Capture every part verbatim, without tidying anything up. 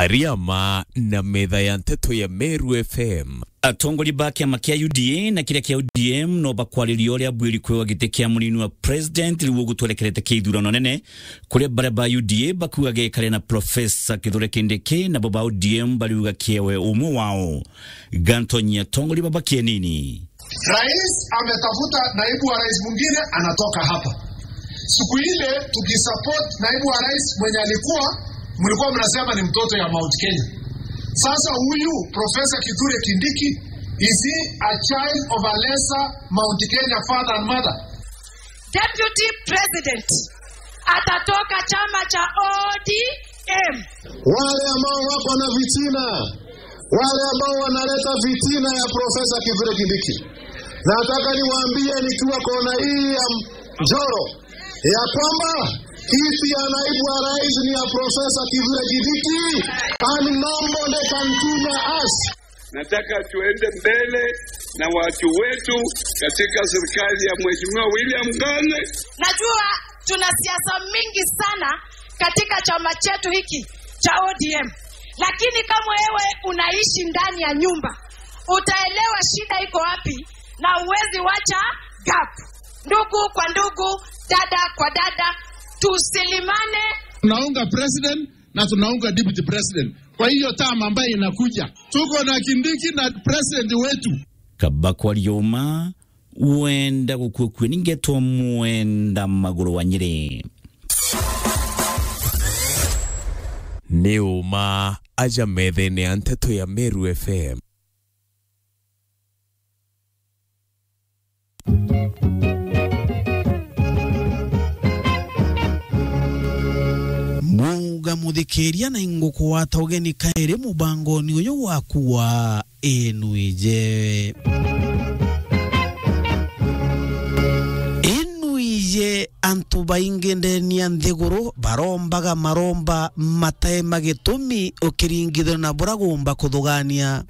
Riama na metha ya nteto ya Meru F M. Atongoria ba kiama kia U D A na kiria kia O D M no bakwariria uria bwiri kwewa giti kia munini wa president riu ugutwerekerete kia ithurano nene, kuria baria ba U D A bakuga gekare na Professor Kithure Kindiki, nabo ba O D M bariuga kiewe umwe wao. Gantonyi atongoria baba kienini. Rais ametafuta naibu wa rais mwingine, anatoka hapa. Siku ile tukisupport naibu wa rais mwenye alikuwa, mlikuwa mnasema ni mtoto ya Mount Kenya. Sasa huyu Professor Kithure Kindiki, is he a child of a lesser Mount Kenya father and mother? Deputy President atatoka chama cha O D M. Wale ambao wako na fitina, wale ambao wanaleta fitina ya Professor Kithure Kindiki, nataka niwaambie nikiwa kona hii ya Njoro ya kwamba kiti ya naibu wa rais ni ya Professor Kithure Kindiki, and nobody can tunya us. Nataka tuende mbele na watu wetu katika serikali ya Mheshimiwa William Ng'ang'a. Najua tuna siasa mingi sana katika chama chetu hiki cha O D M, lakini kama wewe unaishi ndani ya nyumba, utaelewa shida iko wapi, na uwezi wacha gap. Ndugu kwa ndugu, dada kwa dada, tusilimane. Tunaunga president na tunaunga deputy president. Kwa hiyo term ambayo inakuja, tuko na Kindiki na president wetu. Kaba kwaria uma, wenda gukua kue, ningetwa Mwenda Maguru wa Nyeri. Ni uma aja methene ya nteto ya Meru F M. Mwauga muthikiria na ingukugwata ugeni kairi mubangoni uyu waku wa Inuije. Inuije, antu baingi ndeni ya nthiguru barombaga maromba matae ma gitumi ukiringithania na bura gumba kuthugania.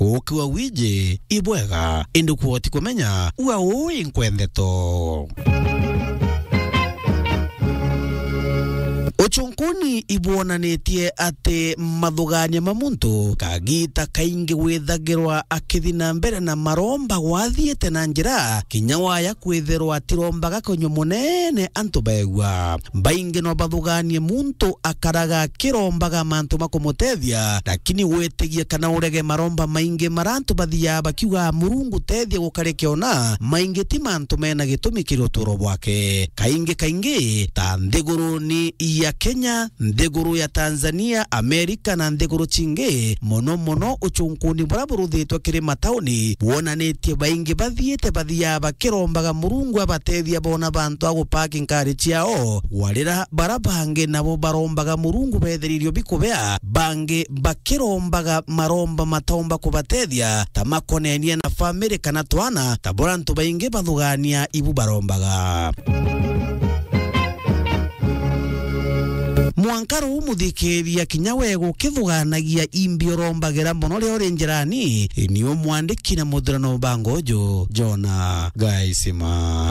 Ukiwa wiji ibwega, indi kwoti kumenya ua uu inkwendeto. Uchunkuni ibwonanitie ati mathugania ma muntu kagita kaingi withagirwa akithi na mbere na maromba gwathiite na njira kinya waya kwithirwa atirombaga kunywa munene antu beegua. Baingi no bathuganie muntu akaraga akirombaga mantu ma kumutethia, lakini witigie kana urege maromba maingi mara antu bathiaga bakiuga, "Murungu, tethia gukare kiona," maingi ti mantu mena gitumi kiri uturo bwake. Kaingi kaingi, ta nthiguruni ya Kenya, nthiguru ya Tanzania, Amerika na nthiguru cingi, mono mono uchunkuni buria buruthitwe kiri matauni, bwonanitie baingi bathiite bathiaga bakirombaga Murungu abatethia bona bantu a gupaki ngari ciao, warira bara bangi nabo barombaga Murungu betheririo bikubea, bangi bakirombaga maromba mataumba kubatethia, ta makonenie na famiri kana twana, ta buria antu baingi bathugania ibu barombaga. Mwanka ruu muthikiria kinya we gukithuganagia imbi urombagira mono riria uri njirani, ni umwandiki na muthurano bango uju, Jona Gaisima.